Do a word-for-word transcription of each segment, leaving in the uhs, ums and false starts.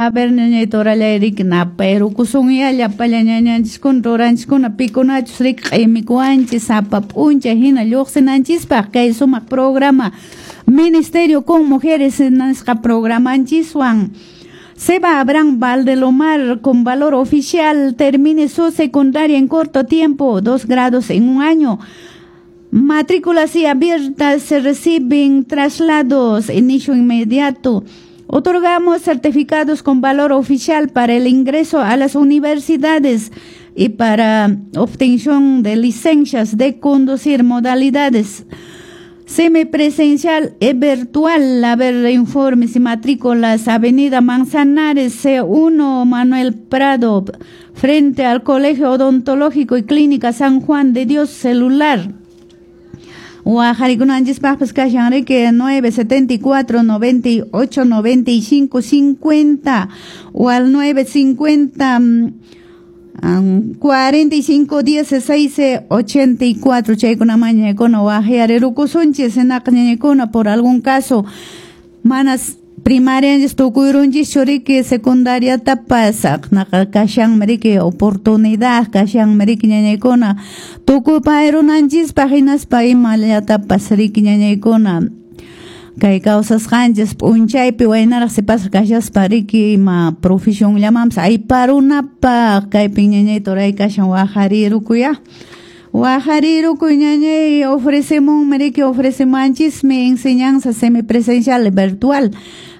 A ver, ñañay torallay riki napayrukusunya llapalla ñañanchiskuna turanchiskuna pikunachus riki q'imikuwanchis sapa p'unchay hina lluqsinanchispaq kay sumaq programa Ministerio con Mujeres nisqa programanchiswan. Seba Abraham Valdelomar con valor oficial termine su secundaria en corto tiempo, dos grados en un año. Matrículas y abiertas, se reciben traslados, inicio inmediato. Otorgamos certificados con valor oficial para el ingreso a las universidades y para obtención de licencias de conducir, modalidades semipresencial y virtual. A ver, informes y matrículas, Avenida Manzanares, C uno, Manuel Prado, frente al Colegio Odontológico y Clínica San Juan de Dios, celular. Waqarikunanchispaqpas kashan riki nueve setenta y cuatro noventa y ocho noventa y cinco cincuenta o al nueve cincuenta cuarenta y cinco dieciséis ochenta y cuatro. Chaykuna mañaykuna waqyarirukusunchis hinaqa ñañaykuna por algún caso manas primaria tukuyrunchis riki secundaria tapas naqa kashanmi riki oportunidad kashanmi riki ñañaykuna tukupayrunanchispa hinaspa imallatapas riki ñañaykuna kay kawsasqanchis p'unchaypi waynaraq sipasqa kashaspa riki ima profesionllamanpas ayparunapaq kaypi ñañay turay kashan waqarirukuya. Waqarirukuy ñañay ofrecemunmi riki ofrecemuanchismi enseñanza semipresencial y virtual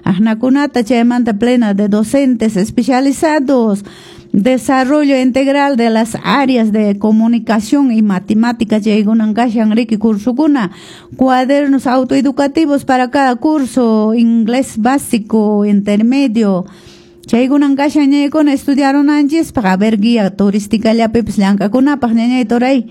aqnakunata chaymanta plena de docentes especializados, desarrollo integral de las áreas de comunicación y matemáticas chaykunan kashan riki cursukuna, cuadernos autoeducativos para cada curso, inglés básico, intermedio. Chaykunan kashan ñañaykuna estudiarunanchispaq, a ver guía turística llapipis llank'akunapaq ñañay turay.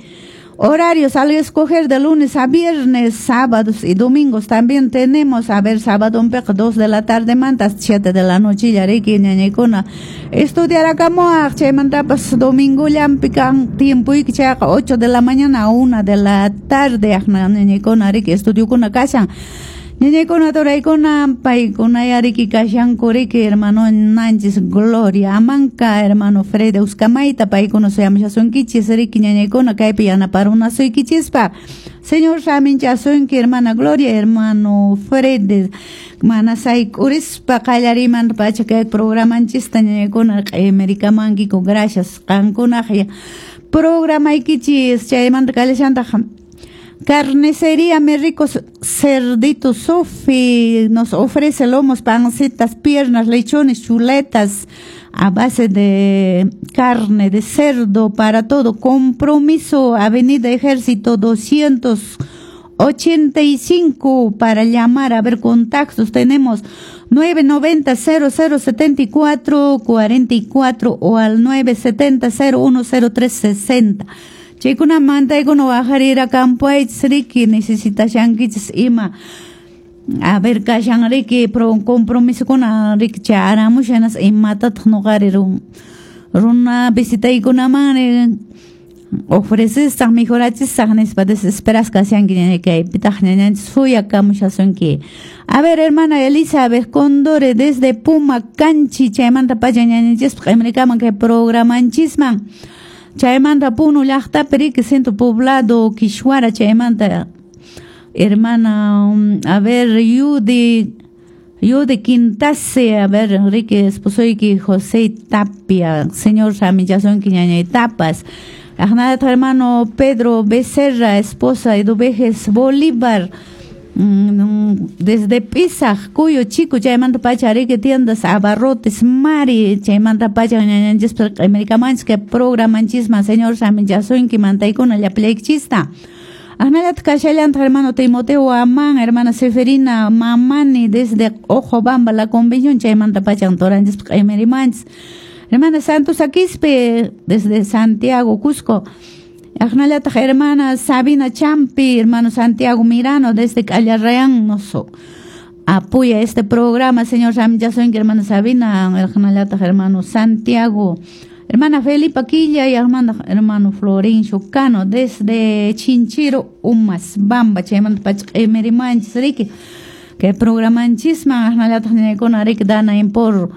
Horarios al escoger de lunes a viernes, sábados y domingos también tenemos, a ver, sábado un dos de la tarde mantas, siete de la noche, yariki ñañaykuna. Estudiar akamuaq, chaymantapas domingo llampikan tiempo y chayqa ocho de la mañana a una de la tarde, aqna ñañaykuna riki estudiokuna kashan. Ñañaykuna turaykuna paykuna yariki kashanku riki hermano nanchis Gloria Amanca, hermano Fred Uscamayta, paykuna suyamushasunkichis riki ñañaykuna kaypi yanaparunasuykichispa. Señor saminchasunki hermana Gloria, hermano Fred, mana sayk'urispa qallarimanta pacha kay programanchista ñañaykuna q'imirikamankiku, gracias qankunaq programaykichis. Chaymanta kallashantaq Carnicería Mi Rico Cerdito Sofi nos ofrece lomos, pancitas, piernas, lechones, chuletas a base de carne de cerdo para todo. Compromiso, Avenida Ejército doscientos ochenta y cinco para llamar, a ver contactos tenemos nueve noventa cero cero setenta y cuatro cuarenta y cuatro o al nueve setenta cero uno cero tres sesenta. Chaykuna mantaykuna waqarira campoaychis riki necesitashankichis ima a ver kashan riki pro compromisokuna riki charamushanas imatataq nuqari runa visitaykunaman ofrecesaq mejorachisaq nispa desesperas kashanki ñañay kaypitaq ñañanchis suyakamushasunki. A ver, hermana Elizabeth Condore desde Puma Canchi, chaymanta pacha ñañanchispaq q'imrikaman kay programanchisman. Chaymanta Puno llaqtapi riki centro poblado Quishuara, chaymanta hermana, a ver, Yudi, Yudi Quintase, a ver, riki esposoyki José Tapia, señor samichasunki ñañay tapas. Aqnallataq hermano Pedro Becerra, esposa Eduveges Bolívar, desde Pisaj, Cuyo Chico, chaymanta pacha riki tiendas abarrotes Mari, chaymanta pacha ñañanchispa q'imrikamanchis kay programanchisman, señor samichasunki mantaykuna llapallaykichista. Aqnallataq kashallantaq hermano Timoteo Amán, hermana Seferina Mamani desde Ojobamba, la convención, chaymanta pacha turanchis q'imirimanchis. Hermana Santos Aquispe desde Santiago, Cusco. Aqnallataq hermana Sabina Champi, hermano Santiago Mirano desde Callarreán nos apoya este programa, señor Samichasunki, hermana Sabina, aqnallataq hermano Santiago, hermana Felipa Quilla y hermana, hermano Florencio Cano desde Chinchiro, Umas Bamba, chaymanta pacha q'imirimanchis riki kay programanchisman, aqnallataq ñañaykuna riki dana por